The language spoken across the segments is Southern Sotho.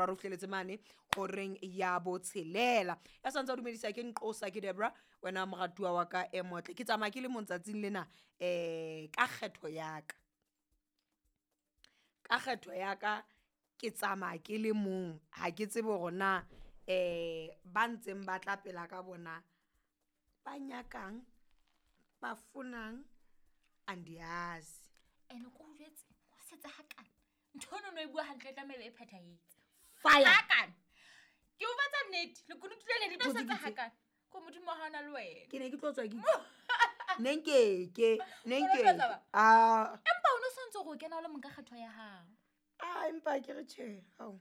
boraro re fihleletse mane horeng ya botshelela. Ya santse a dumedisa ke Nqosa, ke Debra, wena moratuwa wa ka e motle. Ke tsamaya ke le mong tsatsing lena, ka kgetho ya ka. Ka kgetho ya ka ke tsamaya ke le mong, ha ke tsebe hore na ba ntseng ba tla pela ka bona ba nyakang, ba fonang, andiyazi. Ene ko o jwetse, o setse hakana. Ntho eno no e bua hantle e tlameha e phethahetse. Fire. Hakana. Ke o batsa nnete, lekunutu lena le tlo Ntho tse setse ke tse- hakana. Ko Modimo ha ona le wena. Ke ne ke tlo tswa ke ne nkeke, ne O no tlo nkeke. tsamaya? Ah. Empa o no sontse hore o kena o le mong ka kgetho ya hao. Ah, empa ke re tjhe, hao.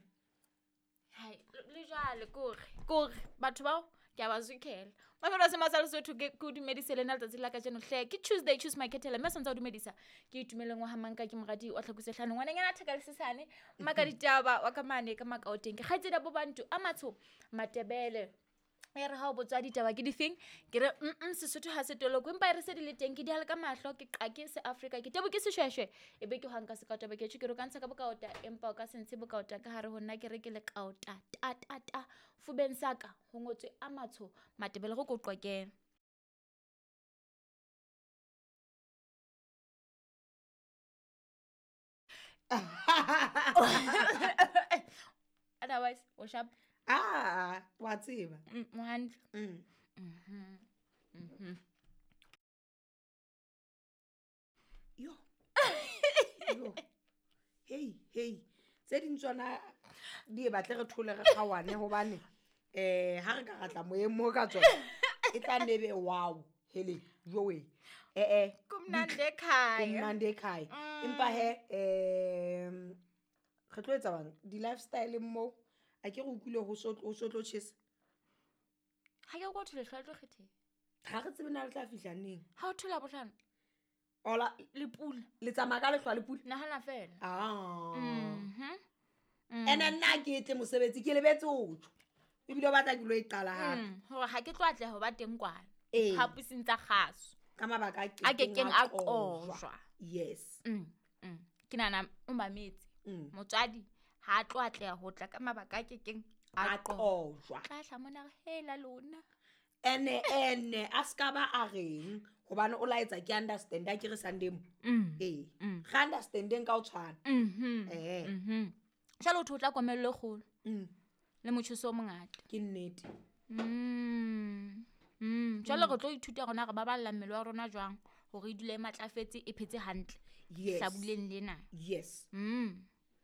Hai, le jwale kore batho bao ke a ba zwikhela. Mafelo a sema sa Lesotho ke o dumedise le nna letsatsi la kajeno hle. Ke Tuesday, choose my kettle, mme santse o dumedisa. Ke Itumeleng wa ha Manka, ke moradi wa Tlhakose hlano. Ngwananyana a theka le sesane, maka ditaba wa ka mane ka makaoteng. Ke kgaitsedi ya bo Bantu a matsho Matebele. E re ha o botswa ditaba ke difeng, ke re, Sesotho ha se toloko, empa e re se di le teng, ke di hale ka mahlo, ke qake se Afrika, ke tebo ke seshweshwe, e be ke hwanka se kaota, ke tjho, ke re o ka ntsha ka bokaota, empa o ka se ntshe bokaota ka hare ho nna, ke re ke lekaota, ta, ta, ta, fubeng sa ka, ho ngotswe a matsho, Matebele, go ko qoqele. Otherwise, o sharp. Ah, wa tseba. O hantle. Yo. Yo. Hey, hey. Tse ding tsona di e batle re thole re kgaohane hobane, ha re ka ra tla moyeng mo ka tsona, e tla nne be wow, hele, jowe. Kumnandi ekhaya. Kumnandi ekhaya. Empa he, re tlo etsa bang? Di-lifestyle mo, a ke re utlwile ho so, ho so tlo tjhesa. Ha ke kwa thole hlwa tlo kgetheng. Ha re tsebe na le tla fihla neng. Ha o thola bohlano. Ola, Le pula. Le tsamaya ka lehlwa le pula? Nahana fela. Ah. Ene nna ke tle mosebetsi, ke lebetse ho tjho. Ebile o batla ke lo e qala hape. Hore ha ke tlo atleha ho ba teng kwana. Ee. Phaposing tsa kgaso. Ka mabaka a A kekeng kekeng a a qojwa. qojwa. Yes. Ke nahana o mametse. Motswadi ha a tlo atleha ho tla ka mabaka a kekeng a A qojwa. qojwa. Tla hla mona re hela lona. Ene, ene, a ska ba a reng, hobane o laetsa ke understand, a ke re Sunday mo. Ee. Re understandeng ka ho tshwana. Ee. Jwale o tho tla komello e kgolo. Le motjheso o mongata. Ke nnete. Jwale re tlo ithuta rona re baballa mmele wa rona jwang hore e dule e matlafetse, e phetse hantle. Yes. Hlabuleng lena. Yes.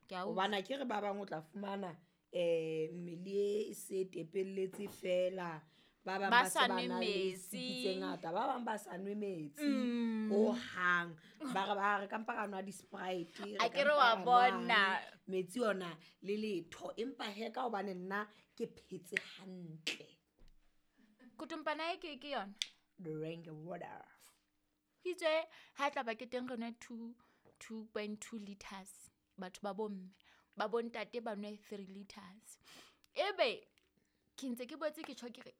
Ke a utlwa. Hobane ke re ba bang o tla fumana, mmele e se tepelletse fela. Ba bang Ba ba se sa ba nwe na le metsi. siki tse ngata, ba bang ba sa nwe metsi hohang. Ba re, ba re ka mpa ra nwa di-Sprite, re A ka ke re mpa wa ra nwa bona. metsi ona le letho. Empa he ka hobane nna ke phetse hantle. Kotompana e ke yona? Drink water. Ho itswe ha tla ba ke teng re nwe 2.2 liters. Batho ba bomme, ba bontate ba nwe 3 liters. Ebe ke ntse ke boetse ke tjho ke re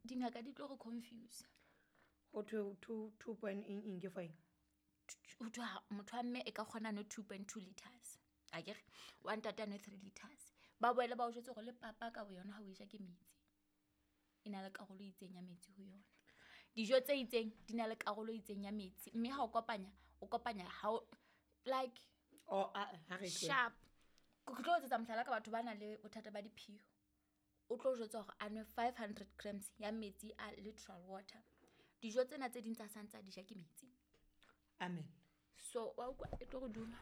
dingaka di tlo re confuse. Ho thwe two point eng, eng ke for eng? Ho thwe ha motho wa mme e ka kgona nwe 2.2 liters. Akere wa ntate a nwe 3 liters. Ba boele ba o jwetse hore le papa ka boyona ha o e ja ke metsi. E na le karolo e itseng ya metsi ho yona. Dijo tse itseng di na le karolo e itseng ya metsi, mme ha o kopanya, o kopanya ha o, like, Oh, a, ha re tlohele. sharp. Ke tlo etsetsa mohlala ka batho ba nang le bothata ba diphio. O tlo jwetsa hore a nwe 500 grams ya metsi a literal water. Dijo tsena tse ding tsa santse a di ja ke metsi. Amen. So, wa utlwa e tlo re duma.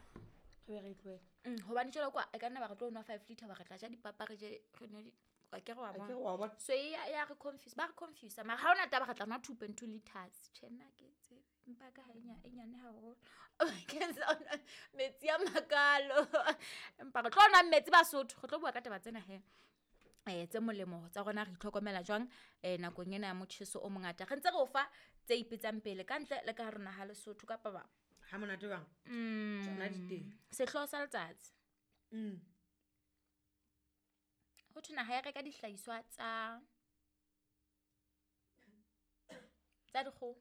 Re be re tlohele. Hobane jwale kwa, e ka nna ba re tlo nwa 5 liter, ba re tla ja dipapa, re je, re nwe di, wa ke re wa A ke bona. re wa bona. So, e ya, ya re confuse, ba re confuse. Mara ha hona taba re tla nwa 2.2 liters. Tjhe, nna ke tsebe. Mpa ka ha e e nyane haholo. Ke sona metsi a makalo. Empa re tlo nwa metsi Basotho, re tlo bua ka taba tsena he. Tse molemo tsa rona re itlhokomela jwang, nakong ena ya motjheso o mongata. Re ntse re o fa tse ipetsang pele ka ntle le ka hare ho naha Lesotho kapa ba. Ha monate jwang? Tsona di teng. Sehlooho sa letsatsi. Ho thwe naha ya reka dihlahiswa tsa dikgoho.